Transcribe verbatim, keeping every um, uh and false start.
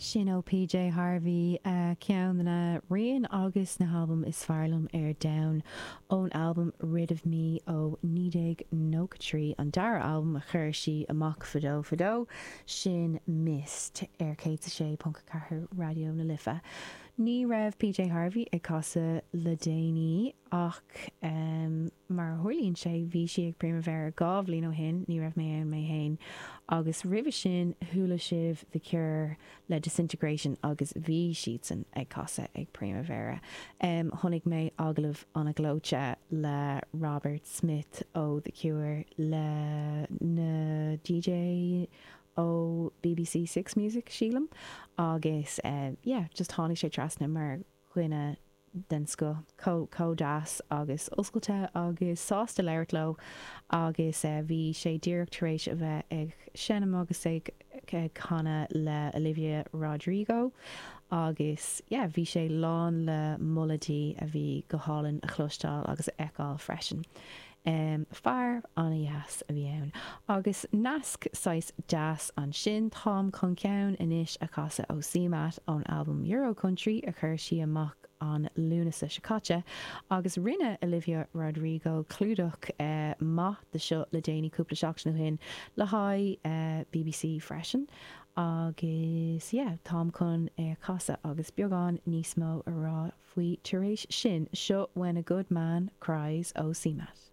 Sin ó PJ Harvey ceann de na rian agus na halbaim is fearr liom ar domhan ón albam Rid of Me ó naoi déag nócha trí, an dara albam a chuir sí amach fadó fadó, sin Mist ar céad a sé ponc a ceathair Raidió na Life. Ní raibh PJ Harvey ag casadh le déanaí ach mar a tharlaíonn sé bhí sí ag Primavera dhá bhliain ó shin, ní raibh mé ann mé féin, agus roimhe sin chuala sibh The Cure le Disintegration agus bhí siadsan ag casadh ag Primavera. Chonaic mé agallamh an-ghleoite le Robert Smith ó The Cure le na DJ ó BBC Six Music sílim agus yeah just tháinig sé trasna mar dhuine den scoth, chomh deas agus oscailte agus sásta labhairt leo agus bhí sé díreach tar éis a bheith ag seinm agus ag canadh le Olivia Rodrigo agus yeah bhí sé lán le moladh di a bhí go hálainn a chloisteáil agus a fheiceáil freisin. Fear an-dheas a bhí ann. Agus nasc saghas deas ansin, táim chun ceann anois a chasadh ó CMAT ón albam Euro Country a chuir sí amach an Lúnasa seo caite, agus rinne Olivia Rodrigo clúdach maith de seo le déanaí cúpla seachtain ó shin le haghaidh BBC freisin. Agus yeah, táim chun é a chasadh agus beagán níos mó a rá faoi tar éis sin. Seo When a Good Man Cries ó CMAT.